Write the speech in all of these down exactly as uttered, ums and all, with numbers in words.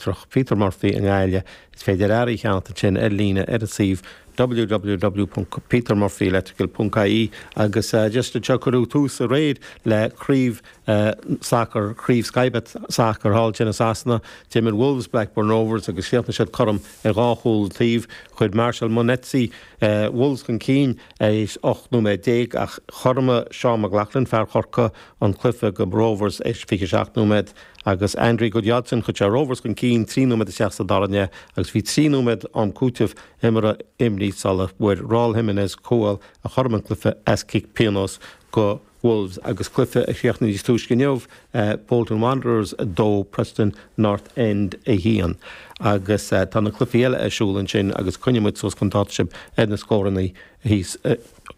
Leictreach Peter Murphy i nGaillimh. Is féidir earraí a cheannach ansin ar líne ar an suíomh www.petermurphyelectrical.ie agus uh, just anseo cuireadh tús aréir le craobh uh, sacar craobh Sky Bet sacar thall i Sasana, D'imir Wolves Blackburn Rovers agus chríochnaigh siad cothrom ar dhá chúl taobh chuir Marshall Munetsi uh, Wolves chun cinn éis ocht nóiméad déag ach chothromaigh Sean McLaughlin fear Chorcaí an cluiche do Rovers éis fiche seacht nóiméad agus Andri Gudjohnsen chuir sé Rovers chun cinn trí nóiméad isteach sa dara leath agus bhí trí nóiméad am cúitimh imeartha imithe sula bhfuair Raul Jimenez cúl a chothromaigh an cluiche as cic pionóis do Wolves agus cluiche a chríochnaigh níos túisce inniu uh, Bolton Wanderers a dó Preston North End a haon. agus uh, tá na cluichí eile ar siúl ansin agus coinneoidh muid suas chun dáta sibh ar na scóranna thíos uh,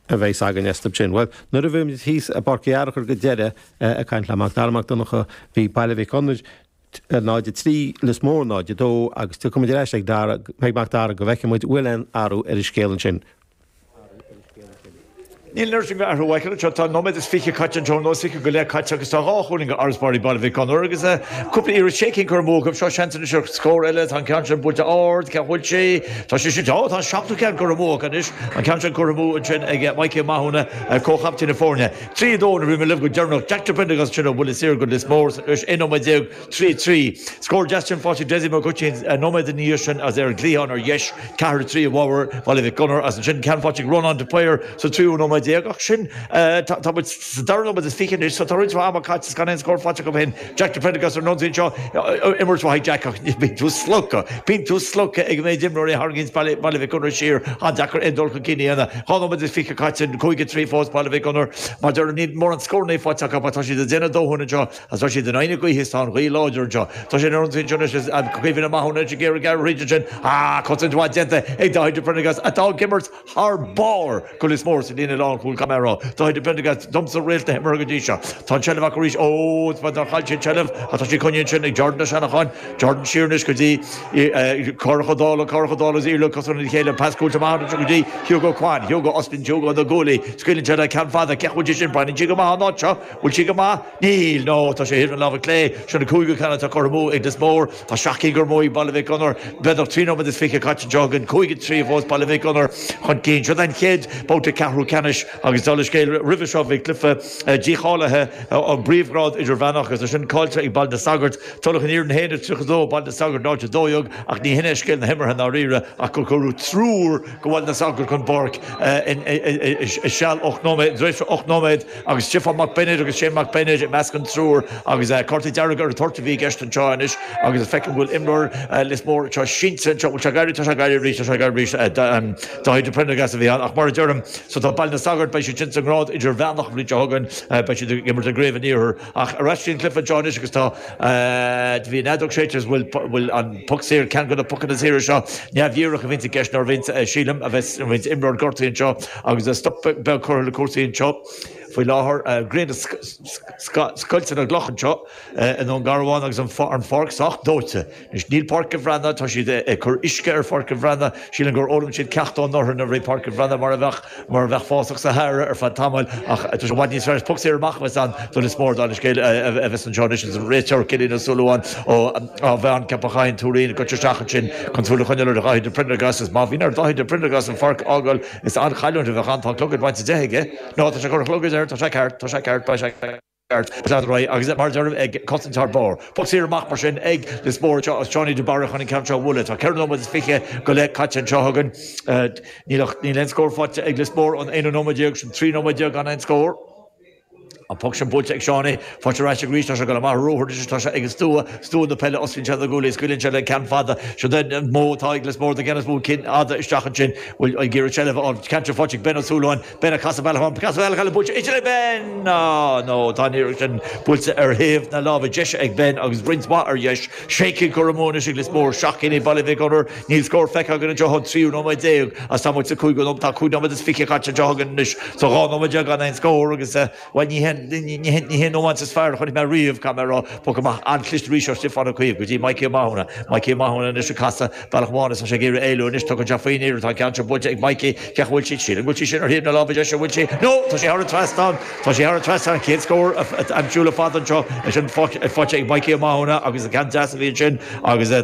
a bheidh againn sin. Well, nuair a bhí thíos i bPáirc Uí Fhearchair go deireadh uh, ag caint le Mac Dara Mac Donncha bhí Baile Mhic Gonair náid trí Lios Mór náid dó agus tu cum leis ag Dara ag Mac Dara go bhfeicfidh muid bhfuil aon athrú ar an scéal ansin. Níl nuair sin athrú seo tá nóiméad is fiche caite anseo nó fiche go leith caite agus tá dhá chúilín ag Arasbarí Baile Mhic Gonair agus cúpla iarracht sé cinn curtha amú seo seans seo scór eile tá ceann sin buailte ard ce bhfuil sé Tá sé sin tá seachtú ceann curtha amú anois an ceann sin curtha amú ansin ag Mikey Mathúna comhchaptaen na foirne. Trí dó a bhí libh go deireanach Jack Prendergast sin bhfuil is go Lios Mór aon nóiméad déag trí trí. Scór Justin fáte Desi Gotin nóiméad ní sin as ar glíán ar dheis ceathair trí bhar Baile Mhic Gonair as ansin ceann faighte Ronan de Paor sa tríú nóiméad déag ach sin tá dara nóiméad is fiche so tá roinnt ama caite gan aon scór faighte go hin Jack de Prendergast ar nonn seo imirt mhaith Jack ach bíonn tú slogtha Bíonn tú slogtha ag méid imreoirí tharraingíonn Baile Mhic Gonair siar an-deacair é dul chun cinn ina dhá nóiméad is fiche caite cúig trí fós Baile Mhic Gonair mar deir ní mór an scór né faighte tá siad ag déanamh dóthain anseo as tá siad in aine gaoithe tá an ghaoth láidir anseo Tá sé ar an seo cuimhin maithúna géar géar sin á cosaint mhaith déanta ag Dáithí de Prendergast atá ag imirt thar barr go Lios Mór sa líne lánchúil Camera Dáithí de Prendergast domsa réalt na himeartha go dtí seo. Tá seilbh arís ó chaill sé seilbh atá sí coinnithe sin ag Jordan Seanacháin Jordan siar go dtí chodála chodála íle cos an chéile pascúilte go dtí Hugo Quan Hugo Austin Hugo na gólaí scaoileann sé le ceann fada ce bhfuil sin bain go maith ná seo bhfuil sí go maith níl nó tá sé an lámh clé sin an cúigiú ceann atá curtha amú ag Lios Mór Tá seacht gcinn curtha amú ag Baile Mhic Gonair b'fhéidir trí nóiméad is fiche caite againn cúig trí fós Baile Mhic Gonair chun cinn seo an chéad babhta ceathrú ceannais agus dul scéil roimhe seo bhí cluiche dícháilithe an bpríomhghrád idirmheánach agus sin caillte ag Baile na Sagart Tulach an Iarainn haon tríocha dó Baile na Sagart náid dó dhéag ach ní hin é scéal na himeartha dáiríre ach gur cuireadh triúr go Baile na Sagart chun páirce i seal ocht nóiméad ocht nóiméad agus Stiofán Mac Bennett agus Shane Mac Bennett i measc an triúr agus cárta dearg ar tort a bhí i gceist anseo anois agus feicim go bhfuil imreoir Lios Mór seo sínte seo se gairí tá gairí rí sé gairí Dáithí de Prendergast a bhí ach mar a deirim so tá Baile na Sagart beidh siad sin sa ngrád idirmheánach bhí thugann beidh siad ag imirt i gCraobh an Iarthair ach ar sin cluiche anseo agus tá bhí nedog sé bhfuil bhfuil an poc saor ceann de na pocanna saora seo neamhdhíreach a bhíonn i gceist nuair a bhíonn sílim a bheith bhíonn imreoir gortaithe anseo agus stop beag curtha le cúrsaí anseo faoi láthair grian scoilte na gcloch anseo i nDún Garbhán agus an pháirc sách dóite. Anois níl Páirc an Bhreathnaigh tá siad ag cur uisce ar Pháirc an Bhreathnaigh sílim gur fhoghlaim siad ceacht ón anuraidh nuair a bhí Páirc an Bhreathnaigh mar a bheadh mar a bheadh fásach Sahara ar feadh tamaill ach tá sé bhfad níos fearr poc saor amach an do Lios Mór don scéal a bheas anseo anois an réiteoir Cillian Ó Súilleabháin ó á bhean Ceapachain Tuairín go isteach ansin chun súil a choinneáil ar Dháithí de Prendergast is má bhíonn ar Dháithí de Prendergast an pháirc a fhágáil is an-chailliúint a bheadh ann tá clogad bainte de aige. Nó tá sé gur chlogad air tá sé ceart tá sé ceart ba sé ceart agus mar deir ag cosaint thar barr. Poc saor amach mar sin ag Lios Mór seo Seánie de Barra chun an ceann seo a bhualadh. Tá ceithre nóiméad is fiche go leith caite anseo againn níl níl aon scór faighte ag Lios Mór an aonú nóiméad déag sin trí nóiméad déag gan aon scór. An poc sin buailte ag Seánie faighte ar ais arís tá sé go maith róthir tá sé ag an stua stua na peile osclaíonn sé na guaillí scaoileann sé le ceann fada seo den mó atá ag Lios Mór de gceann mó cinn fhada isteach ansin bhfuil ag iarraidh seilbh an ceann seo faighte ag Ben Ó Súilleabháin Ben ag casadh bealach casadh bealach eile buailte idir le Ben no no tá an iarracht sin buailte ar thaobh na láimhe deise ag Ben agus roinnt mhaith ar dheis sé cinn curtha amú anois ag Lios Mór seacht gcinn ag Baile Mhic Gonair níl scór feicthe againn anseo an tríú nóiméad déag as tá muid sa cúigiú nóiméad tá cúig nóiméad is fiche caite anseo againn anois so dhá nóiméad déag gan aon scór agus bhuel ní ní hé nóiméad is fearr chonaic mé riamh caithfidh mé a rá poc amach an-chliste arís ó Stiofán Ó Caoimh go dtí Mikey Ó Mathúna Mikey Ó Mathúna anois ag casadh bealach amháin is tá sé ag iarraidh éalú anois tugann sé faoin iarracht tá ceann seo buailte ag Mikey cé bhfuil sí sílim bhfuil sí sin ar thaobh na láimhe deise bhfuil sí no tá sé thar an trasnán tá sé thar an trasnán chéad scór aimsiú le fada anseo sin faighte ag Mikey Ó Mathúna agus an ceann deas a bhí sin agus tá